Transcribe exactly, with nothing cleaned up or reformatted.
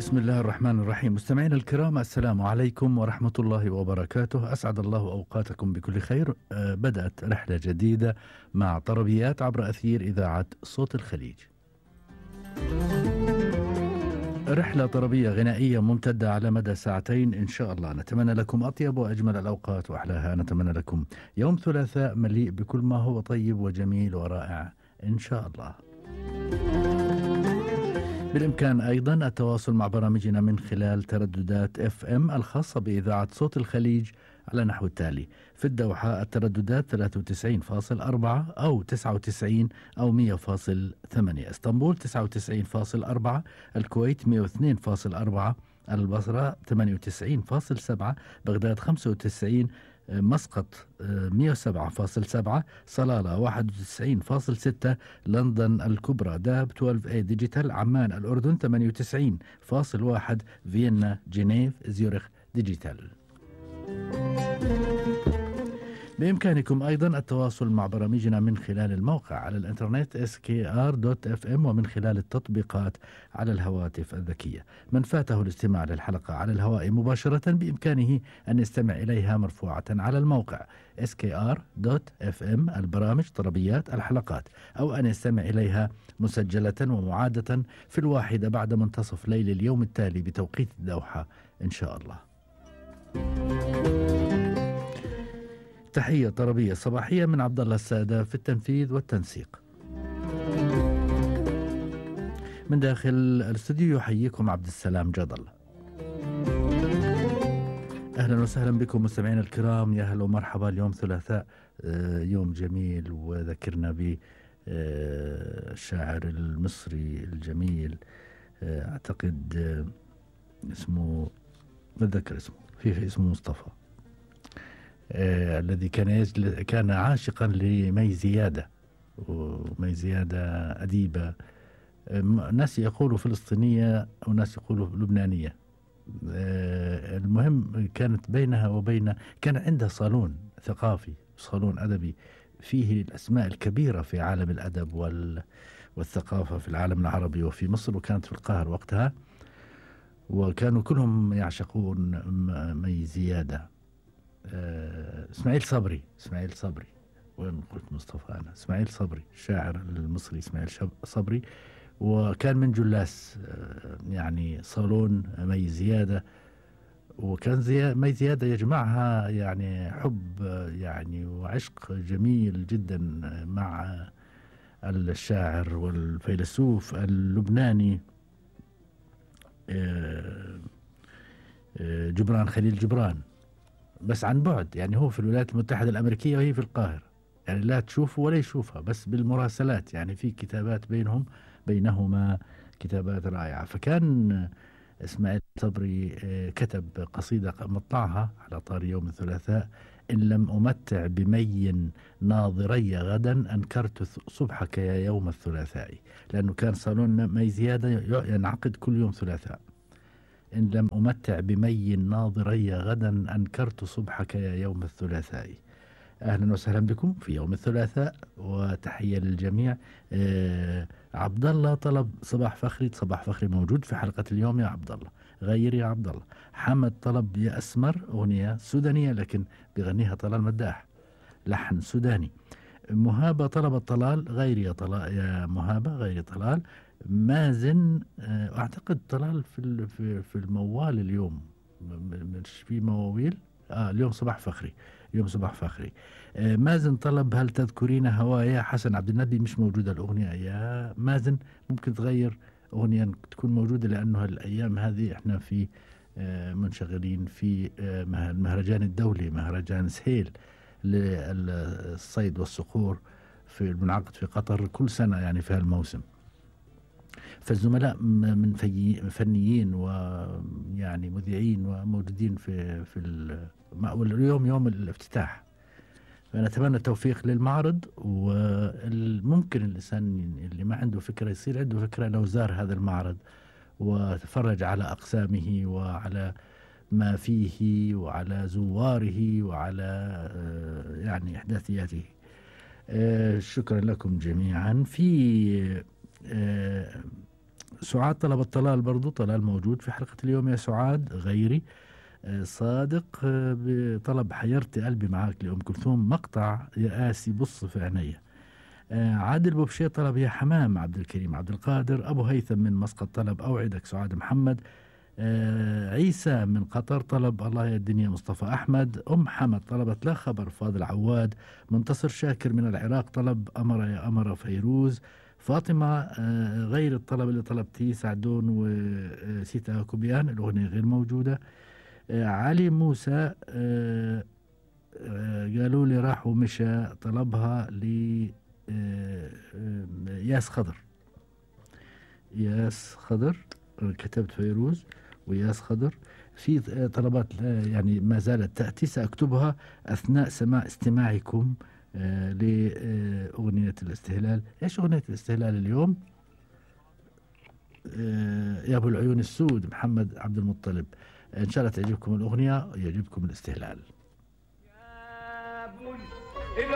بسم الله الرحمن الرحيم. مستمعينا الكرام، السلام عليكم ورحمة الله وبركاته. أسعد الله أوقاتكم بكل خير. آه، بدأت رحلة جديدة مع طربيات عبر أثير إذاعة صوت الخليج. رحلة طربية غنائية ممتدة على مدى ساعتين إن شاء الله. نتمنى لكم أطيب وأجمل الأوقات وأحلاها. نتمنى لكم يوم ثلاثاء مليء بكل ما هو طيب وجميل ورائع إن شاء الله. بالإمكان أيضا التواصل مع برامجنا من خلال ترددات اف ام الخاصة بإذاعة صوت الخليج على نحو التالي: في الدوحة الترددات ثلاثة وتسعين فاصل أربعة أو تسعة وتسعين أو مئة فاصل ثمانية، اسطنبول تسعة وتسعين فاصل أربعة، الكويت مئة واثنين فاصل أربعة، البصرة ثمانية وتسعين فاصل سبعة، بغداد خمسة وتسعين، مسقط مئة وسبعة فاصل سبعة، صلالة واحد وتسعين فاصل ستة، لندن الكبرى داب اثناشر اي ديجيتال، عمان الأردن ثمانية وتسعين فاصل واحد، فيينا جنيف زيورخ ديجيتال. بإمكانكم أيضا التواصل مع برامجنا من خلال الموقع على الإنترنت إس كي آر دوت إف إم ومن خلال التطبيقات على الهواتف الذكية. من فاته الاستماع للحلقة على الهواء مباشرة بإمكانه أن يستمع إليها مرفوعة على الموقع إس كي آر دوت إف إم البرامج طربيات الحلقات، أو أن يستمع إليها مسجلة ومعادة في الواحدة بعد منتصف ليل اليوم التالي بتوقيت الدوحة إن شاء الله. تحية طربية صباحية من عبد الله السادة في التنفيذ والتنسيق. من داخل الاستوديو يحييكم عبد السلام جدل. أهلا وسهلا بكم مستمعين الكرام، يا هلا ومرحبا. اليوم ثلاثاء، يوم جميل وذكرنا بالشاعر المصري الجميل، أعتقد اسمه، بتذكر اسمه، في اسمه مصطفى، آه، الذي كان يجل... كان عاشقا لمي زيادة، ومي زيادة أديبة، آه، ناس يقولوا فلسطينية وناس يقولوا لبنانية، آه، المهم كانت بينها وبين، كان عندها صالون ثقافي، صالون أدبي فيه الأسماء الكبيرة في عالم الأدب وال... والثقافة في العالم العربي وفي مصر، وكانت في القاهرة وقتها، وكانوا كلهم يعشقون مي زيادة. آه، اسماعيل صبري، اسماعيل صبري وين قلت مصطفى أنا؟ اسماعيل صبري، الشاعر المصري اسماعيل صبري، وكان من جلاس آه، يعني صالون مي زيادة، وكان زي مي زيادة يجمعها يعني حب آه، يعني وعشق جميل جدا مع الشاعر والفيلسوف اللبناني آه، آه، جبران خليل جبران، بس عن بعد، يعني هو في الولايات المتحدة الأمريكية وهي في القاهرة، يعني لا تشوفه ولا يشوفها، بس بالمراسلات، يعني في كتابات بينهم بينهما كتابات رائعة. فكان إسماعيل صبري كتب قصيدة مطلعها على طار يوم الثلاثاء: إن لم أمتع بمي ناظري غدا أنكرت صبحك يا يوم الثلاثاء، لأنه كان صالون مي زيادة ينعقد كل يوم ثلاثاء. إن لم أمتع بمي ناظري غدا أنكرت صبحك يا يوم الثلاثاء. أهلا وسهلا بكم في يوم الثلاثاء، وتحية للجميع. آه عبد الله طلب صباح فخري، صباح فخري موجود في حلقة اليوم يا عبد الله، غير يا عبد الله. حمد طلب يا أسمر، أغنية سودانية لكن بغنيها طلال مداح، لحن سوداني. مهابة طلبت طلال، غير يا طلال يا مهابة، غير طلال. مازن اعتقد طلال في في في الموال اليوم، مش في مواويل، اه اليوم صباح فخري، اليوم صباح فخري. آه مازن طلب هل تذكرين هوايا، حسن عبد النبي مش موجودة الأغنية يا مازن، ممكن تغير أغنية تكون موجودة، لأنه الأيام هذه احنا في آه منشغلين في آه المهرجان الدولي، مهرجان سهيل للصيد والصقور في المنعقد في قطر كل سنة يعني في هالموسم. فالزملاء من فنيين ويعني مذيعين وموجودين في في اليوم يوم الافتتاح، فنتمنى التوفيق للمعرض. وممكن الإنسان اللي ما عنده فكرة يصير عنده فكرة لو زار هذا المعرض وتفرج على أقسامه وعلى ما فيه وعلى زواره وعلى يعني إحداثياته. شكرا لكم جميعا. في سعاد طلبت طلال، برضو طلال موجود في حلقة اليوم يا سعاد غيري. آه، صادق آه، بطلب حيرتي قلبي معاك لأم كلثوم، مقطع يا قاسي بص في عينيا. آه، عادل بوبشي طلب يا حمام عبد الكريم عبد القادر. أبو هيثم من مسقط طلب أوعدك سعاد محمد. آه، عيسى من قطر طلب الله يا الدنيا مصطفى أحمد. أم حمد طلبت لا خبر فاضل عواد. منتصر شاكر من العراق طلب أمر يا أمر فيروز. فاطمة آه، غير الطلب اللي طلبتيه سعدون وسيتا كوبيان، الأغنية غير موجودة. آه، علي موسى آه، آه، قالوا لي راح ومشى، طلبها ل آه، آه، ياس خضر. ياس خضر آه، كتبت فيروز وياس خضر. في آه، طلبات آه، يعني ما زالت تأتي، سأكتبها أثناء سماع استماعكم آه، لأغنية الاستهلال. إيش أغنية الاستهلال اليوم؟ آه، يا أبو العيون السود محمد عبد المطلب. إن شاء الله تعجبكم الأغنية، يعجبكم الاستهلال. يا أبو العيون